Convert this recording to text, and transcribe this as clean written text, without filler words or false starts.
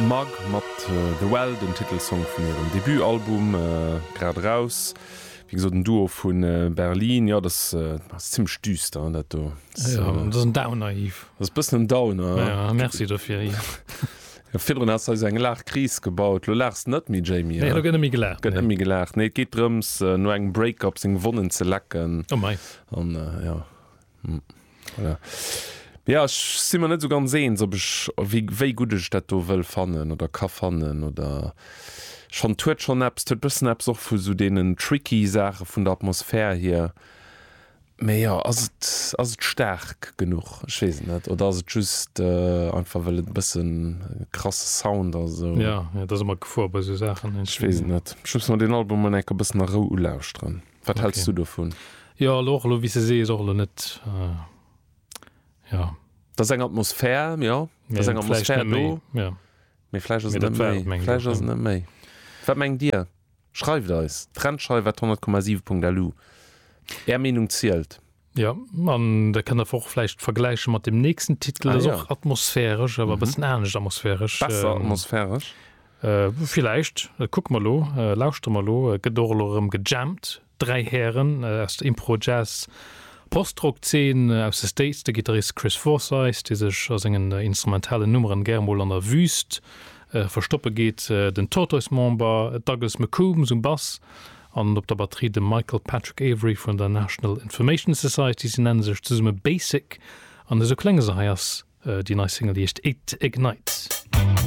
Mug mat The Well, den Titelsong vun hirem Debutalbum, grad eraus. Wéi gesot en Duo vu Berlin. Jo, dat ass zimmlech düster, dat do. Jo, dat ass en Downer, Yves. Dat ass e bëssen en Downer. Jo, merci dofir, Yves. Jo, virdrun has de eis eng Laachkris gebaut. Lo laachs de net méi, Jamie. Nee, lo gëtt net méi gelaacht. Gëtt net méi gelaacht. Nee, et geet drëms, no engem Break-up seng Wonnen ze lecken. Oh mei. An jo. Voilà. Ja, ech si mer net esou ganz eens, ob ech, wéi, wéi gutt ech dat do wëll fannen oder ka fannen oder ech fannen, et huet schonn eppes, et huet bëssen eppes och vu sou deenen tricky Saache vun der Atmosphär hier. Mee jo, ass et, ass et staark genuch? Ech weess et net. Oder ass et just einfach well et e bëssen e krasse Sound ass esou? Ja, ja, dat ass ëmmer d'Gefor bei esou Saachen. Ech weess et net. Ech muss mer deen Album mol eng Kéier e bëssen a Rou ulauschteren. Wat okay. hältst du dovun? Jo, elo och elo wéi s de sees, och elo net, jo. Dat ass eng Atmosphär, jo. Dat ass eng Atmosphär do. Ja. Mee vläicht ass et net méi. Vläicht ass et net méi. Wat mengt Dir? Schreift eis! Trendscheif at 100,7.lu. Är Meenung zielt. Jo, an da kënnt der och vläicht vergläiche mat dem nächsten Titel, dat ass och atmosphäresch, awer e bëssen anescht atmosphäresch. Besser atmosphäresch? Villäicht, kucke mer elo, lauschtere mer elo. Et gëtt och elo erëm gejammt, 3 Hären aus der Impro-Jazz Post-Rock-Zeen aus de States, de Gittarist Chris Forsyth, dee sech a sengen instrumentalen Nummeren gär mol an der Wüst verstoppe geet, den Tortoise-Member Douglas McCombs um Bass An op der Batterie de Michael Patrick Avery vun der National Information Society. Si nenne sech zesumme Basic an esou klénge se. Hei ass déi nei Single, déi heescht It Ignites.